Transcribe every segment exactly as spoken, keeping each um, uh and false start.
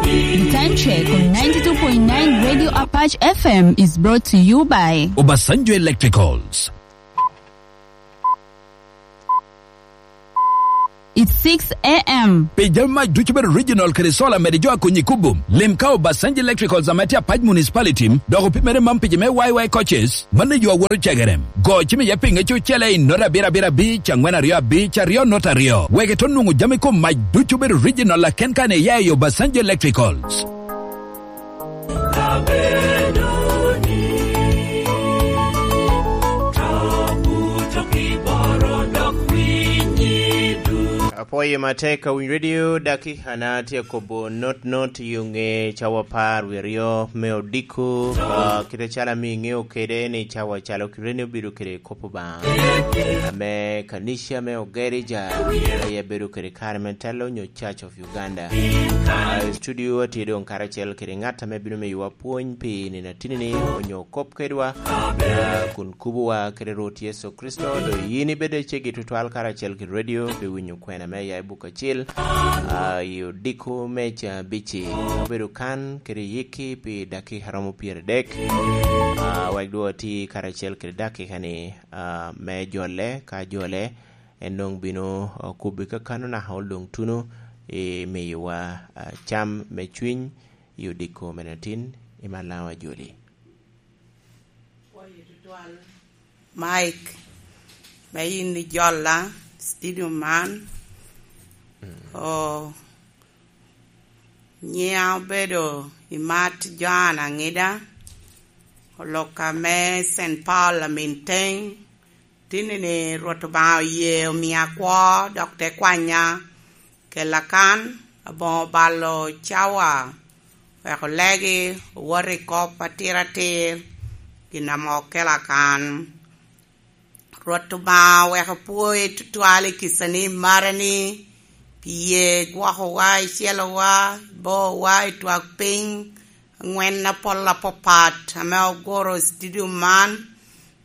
The time check on ninety-two point nine Radio Apache F M is brought to you by Obasanjo Electricals. It's six a m. Pi jami mac ducu bedo original kede solar mede jo a konyi kubo. Lim ka Obasanjo Electricals ame tye Apac Municipality, dok opimere mam pi jo me Y Y coaches, mano yo awoto cegere. Go cim iye pinge cucele i nota abiro abiro abic, angwen aryo abic, aryo nota aryo. Wek ito nwoŋo jami kom mac ducu bedo original aken kan iya i Obasanjo Electricals. Abedo ni, to buto kiboro dok winyi du. Apwoyo matek ka winy radio, dakika na tye kobo not not i ŋe cawa apar wie aryo me odiko, ah, kite calo ame iŋeo kede ni cawa calo kite ni obedo kede kop Obaŋa. Ame kanica me Ogerija, aye bedo kede kare me telo nyo Church of Uganda. Ah, i studio atye doŋ karacel kede ŋat ame bino miyowa pwony pi nino atini-ni, onyo kop kedwa, ah, kun kubowa kede Rwot Yecu Kricito, do yin ibed acegi tutwal karacel kede radio, pi winyo kwena me ya i buka acel, ah, i odiko me ca abici. Obedo kan kede yikki pi dakika romo pyeradek, ah, wek dwon ati karacel kede dakika-ni, ah, me jole, ka jole, en doŋ bino, ah, kubbi kakano naka oloŋ tuno i miyowa, ah, cam me cwiny i odiko me natin i Malaŋo Ajoli. Pwoyo tutwal, Mike, me yin ijola studio man. Mm. O, nyiŋa obedo Imat Joan Aŋida, oloka me Saint Paul Aminteng, Tinni-ni Rwot Obaŋa oye omia kwo, dok te kwanya, kela kan, aboŋo balo cawa, wek olegi, owot i kop atir atir, gin ame okela kan. Rwot Obaŋa wek opwoyi tutwal i kicani i marani, pi ye igwokowa, icelowa, ibowa i twak piny, aŋwen apol apapat ame oguro studio man.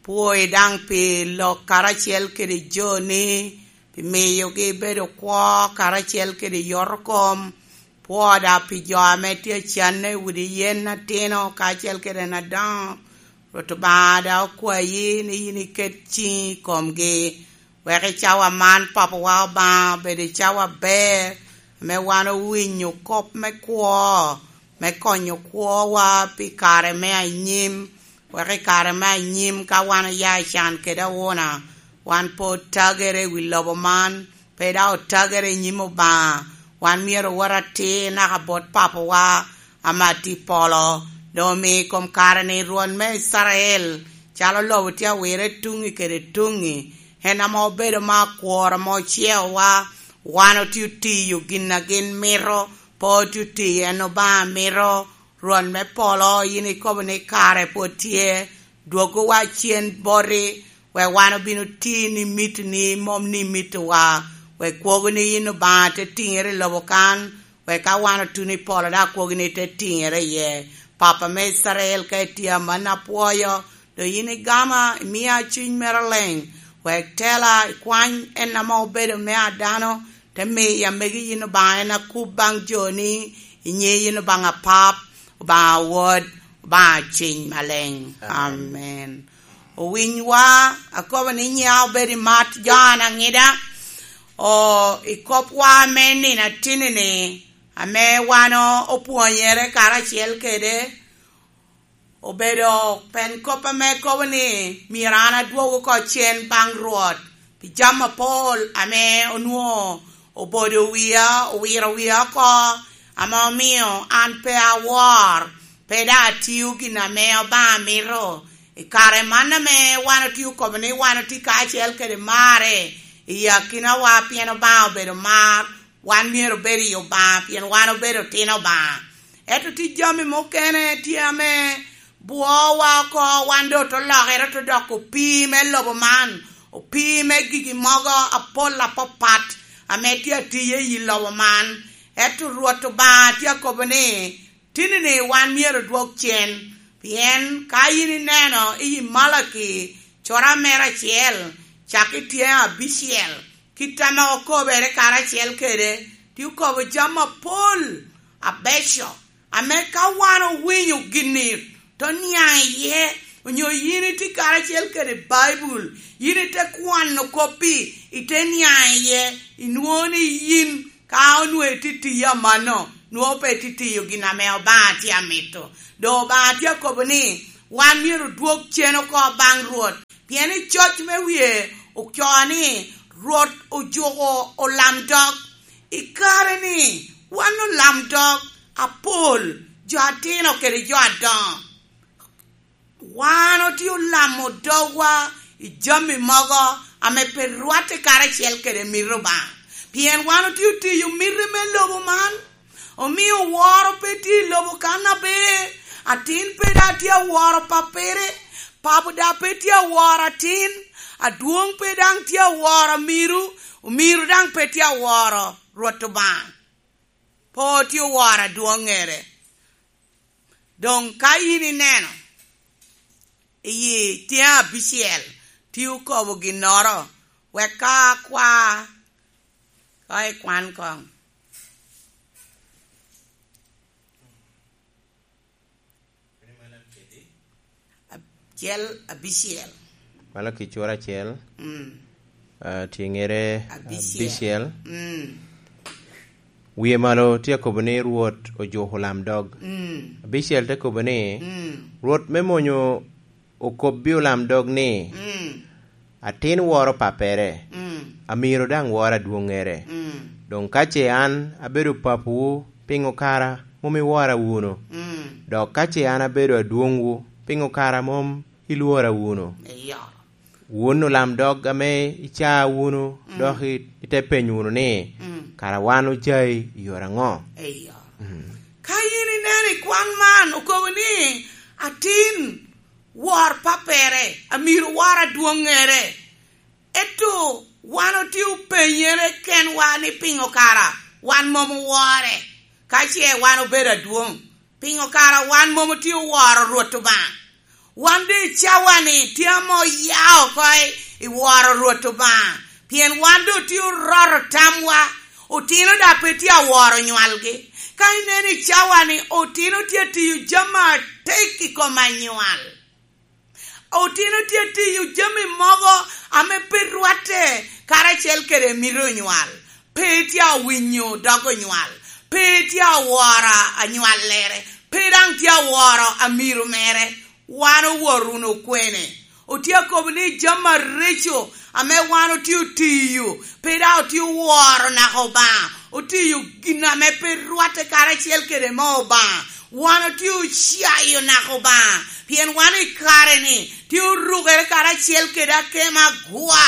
Pwoyi daŋ pi lok karacel kede joni, pi miyogi bedo kwo karacel kede yotokom. Pwoda pi jo ame tye acanne i udi yen atino kacel kede en adoŋo. Rwot Obaŋa daŋ okwayi ni yin iket ciŋi i komgi. Wek i cawa man, Papawa Obaŋa, obed i cawa aber, ame wan owinyo kop me kwo, me konyo kwowa pi kare me anyim, wek i kare me anyim ka wan oya i can kede awuna, wan pe otagere i wi lobo man, pe daŋ otagere i nyim Obaŋa. Wan myero owot atir naka bot Papawa ame atye i polo, doŋ omi i kom kare-ni Rwot me Icrael, calo lobo tye awire tuŋi kede tuŋi, en ame obedo me akwor ame ocieowa. Wan otye otiyo gin a gin mito, pe otye otiyo en Obaŋa mito. Rwot me polo, yin ikobo ni kare pwod tye, dwogowa cen boti, wek wan obin oti ni mitini, mom ni mitowa, wek kwogo ni yin Obaŋa te tiŋere i lobo kan, wek ka wan otuno i polo, dok kwogo ni te tiŋere iye. Papa me Icrael, ka itye amanni apwoyo, doŋ yin igama, imia cuny mere leŋ, wek tela, ikwany en ame obedo me a dano, te miya megi yin Obaŋa en akub baŋ joni, inye yin Obaŋa Pap, Obaŋa Wod, Obaŋa Ciny Maleŋ. Amen. Amen. Owinywa, akobo ni nyiŋa obed Imat Joan Aŋida, o, i kopwa me nino atini-ni, ame wan o-, opwonyere karacel kede, obedo pen kop ame kobo ni myero an adwog oko cen baŋ Rwot pi jami apol ame onwoŋo obodo wia, owiro wia oko, ame omio an pe awor, pe daŋ atio gin ame Obaŋa mito. I kare man ame wan otye okobo ni wan otye kacel kede marre i akinawa, pien Obaŋa obedo mar, wan myero obed i Obaŋa, pien wan obedo otino Obaŋa. Ento tye jami mukene tye ame bwowa oko, wan doŋ te lokere te doko opii me lobo man, opii me gigi mogo apol apapat ame tye atiye i lobo man. Ento Rwot Obaŋa tye akobo ni, tinni-ni wan myero odwog cen, pien ka yin ineno i Malaki, cura mere acel, cak i tyeŋ abicel, kit ame okobere karacel kede, tye okobo jami apol abeco, ame ka wan owinyo gin-ni, te niaŋ iye, onyo yin itye karacel kede Baibul, yin ite kwano koppi, ite niaŋ iye, inwoŋo ni yin ka onwoŋo itye tiyo amanno, nwoŋo pe itye tiyo gin ame Obaŋa tye amito. Doŋ Obaŋa tye akobo ni wan myero odwog cen oko baŋ Rwot, pien i coc me wie ocoo ni Rwot ojuko olamdog. I kare-ni, wan olamdog apol, jo atino kede jo adoŋo. Wan otye olamo dogwa i jami mogo ame pe rwatte karacel kede mito Obaŋa. Pien wan otye otiyo miti me lobo man, omio woro pe tye i lobo kan aber, atin pe daŋ tye aworo pappere, papo daŋ pe tye aworo atin, adwoŋ pe daŋ tye aworo amiru, omiro daŋ pe tye aworo Rwot Obaŋa. Pe otye oworo adwoŋŋere. Doŋ ka yin ineno i tyeŋ abicel, tye okobo ginnoro, wek ka akwa, ka ikwan koŋ. Acel abicel. Malaci cura acel, mm, ah, tyengere abicel. Abicel. Mm. Wie malo tye akobo ni Rwot ojuko olamdog. Mm. Abicel te kobo ni, mm, Rwot me monyo okobbi olamdog ni, mm, atin woro pappere, mm, amiro daŋ woro adwoŋŋere. Mm. Doŋ ka ce an abedo papawu, piŋo kara mom iwora wunu? Mm. Dok ka ce an abedo adwoŋwu, piŋo kara mom ilwora wunu? Eyo. Wun olamdog ame icaa wunu, mm, dok i-, ite penyo wunu ni, mm, kara wan ocai i yore aŋo? Eyo. Mm. Ka yin ineno i kwan man, okobo ni, atin wor pappere, amiro wor adwoŋŋere. Ento wan otye openyere kenwa ni piŋo kara wan mom owore, ka ce wan obedo adwoŋ? Piŋo kara wan mom otye oworo Rwot Obaŋa? Wan doŋ i cawa-ni tye ame oya oko i, i woro Rwot Obaŋa, pien wan doŋ otye oroto tamwa, otino daŋ pe tye aworo nywalgi. Ka ineno i cawa-ni, otino tye atiyo jami atek i kom anywal. Otino tye atiyo jami mogo ame pe rwatte karacel kede mito onywal. Pe tye awinyo dog onywal. Pe tye aworo anywallere. Pe daŋ tye aworo amiro mere. Wan owor wunu kwene? Otye akobo ni jami areco ame wan otye otiyo, pe daŋ otye oworo naka Obaŋa. Otiyo gin ame pe rwatte karacel kede moo Obaŋa. Wan otye ocayo naka Obaŋa, pien wan i kare-ni tye orukere karacel kede akemo agwa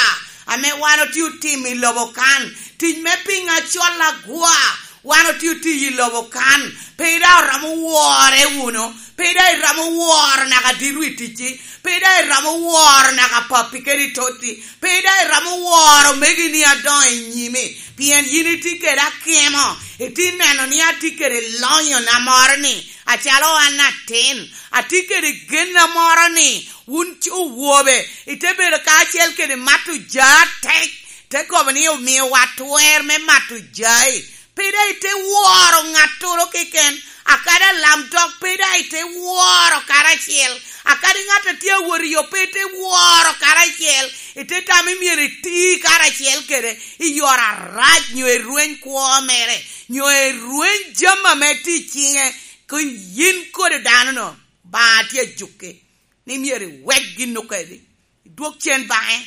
ame wan otye otimo i lobo kan. Tic me piŋ acol agwa, wan otye otiyo i lobo kan. Pe daŋ oromo wore wunu, pe daŋ iromo woro naka dito i ticci, pe daŋ iromo woro naka pappi kede i totti, pe daŋ iromo woro omegini adoŋo i nyimi, pien yin itye kede akemo, itye neno ni atye kede lonyona moro-ni, acalo an atin, atye kede genna moro-ni, wun c-, owobe, ite bedo kacel kede mato ja atek, te kobo ni omiowa twer me mato jai. Pe daŋ ite woro ŋattoro keken, akadi alamdog pe daŋ ite woro karacel, akadi ŋat a tye awot i yo pe ite woro karacel, ite tamo ni myero iti karacel kede i yore arac, nyo i rweny kwo mere, nyo i rweny jami ame tye i ciŋe, ko yin kodi dano-nu, Obaŋa tye ajuki ni myero iwek gin okedi, idwog cen baŋe.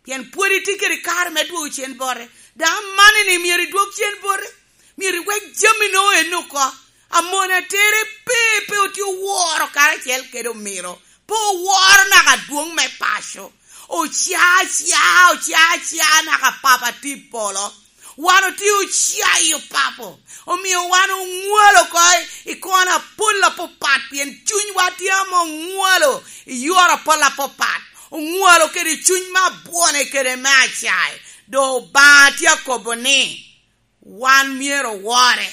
Pien pwod itye kede kare me dwogo cen bote. Daŋ amanni ni myero idwog cen bote. Myero iwek jami-nu en oko. Amon atere pe, pe otye oworo karacel kede omiro. Pe oworo naka adwoŋ me paco. Oca, oca, oca, oca naka Papa tye i polo. Wan otye ocayo Papo. Omio wan oŋwalo oko i, i kona apol apapat, pien cunywa tye ame oŋwalo i yore apol apapat. Oŋwalo kede cuny me abwone kede me acae. Doŋ Obaŋa tye akobo ni, wan myero owore,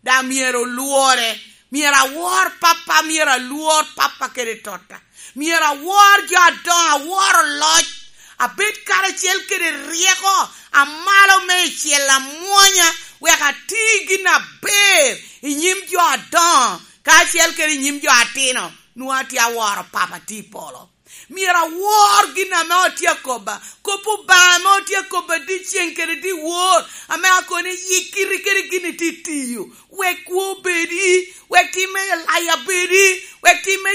daŋ myero olwore. Myero awor Pappa, myero alwor Pappa kede tota. Myero awor jo adoŋo, awor oloc, abed karacel kede ryeko amalo meicel amwonya, wek ati gin aber i nyim jo adoŋo, kacel kede i nyim jo atino, nwoŋo atye aworo Papa tye i polo. Myero awor gin ame otye akobba, kop Obaŋa ame otye akobba dyeceŋ kede dyewor, ame akoni yikiri kede gin itye tiyo, wek kwo obedi, wek tim me laya bedi, wek tim me